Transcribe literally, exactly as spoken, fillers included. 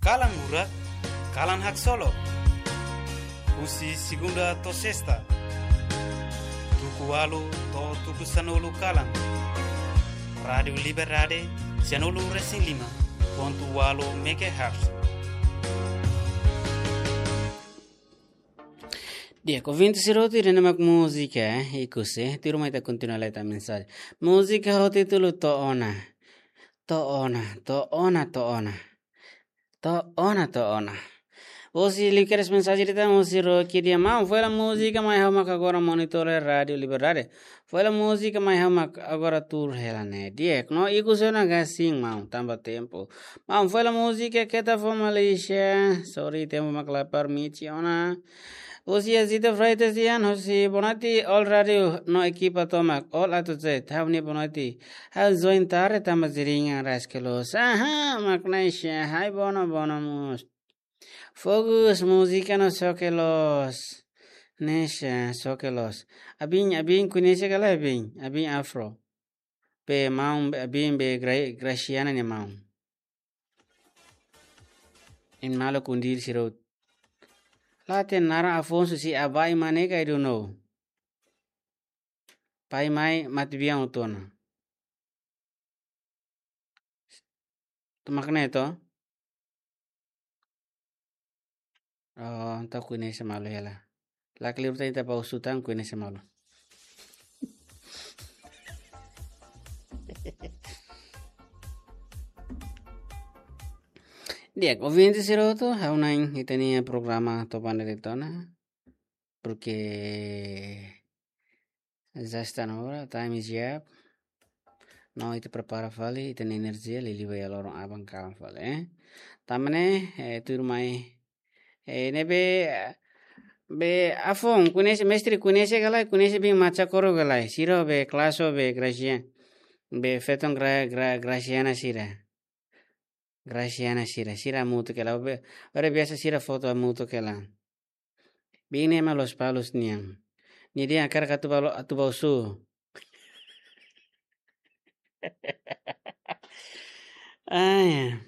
Kalan Murak, Kalan Haksolok. Husi segunda to'o sesta, tuku ualu to'o tuku sanulu kalan. Rádiu Liberdade, sanulu resin lima pontu ualu megahertz. Di'ak, ouvinte sira hotu, ida-ne'e mak múzika, eh, ikus, eh, tuirmai ita kontinua leta mensajen. Múzika ho títulu To'o Ona. To'o Ona, To'o Ona, To'o Ona. To'o Ona, To'o Ona. Hosi liu kedas mensajen ida tan, hosi Rocky dehan: Maun, fó hela múzika mai ha'u mak agora monitor Rádiu Liberdade. Fó hela múzika mai ha'u mak agora tuur hela ne'e. Di'ak, no ikus ona ka sin, maun, tanba tempu. Maun, fó hela múzika keta fó Malaysia. Sorry, tempu mak la permite ona. Hosi Azita Freitas dehan: Hosi Bonati, all rádiu no ekipa tomak, all A to Z, ha'u-nia Bonati. Ha'u join tarde tanba jaringan raskelus. Aha, mak Neisha, hai bono, bono mós. Fokus, múzika no xoke loos. Neisha, xoke loos. Abin, abin koñese ka lae, abin, abin Afro. Be maun, abin be Gra-, Graciana nia maun. Imi maluk kundir sira hotu. La hatene naran Afonso, se Abai mak ne'e ka, I don't know. Pai mai mate biang hotu ona. Tomak ne'e to? Oh, entaun koñese malu hela. La kleur tan, ita bá husu tan, koñese malu. Di'ak, ouvinte sira hotu, ha'u hanoin ita-nia programa to'o ba ne'e de'it ona. Porque já está na hora, time is up. No, ita prepara fali ita-nia enerjia, liuliu ba iha loron aban kalan fali, eh. Tanba ne'e, eh, tuirmai, eh, ne'ebé, be Afon, koñese, mestre koñese ka lae, koñese bin Macha Koro ka lae, sira be Klaso be Gracia, be feton Gra-, Gra-, Graciana sira. Graciana sira, sira hamutuk hela, be, ora biasa sira foto hamutuk hela. Bin ne'e mak Lospalos nian. Nia dehan hakarak atu bá lo-, atu bá husu. Ai.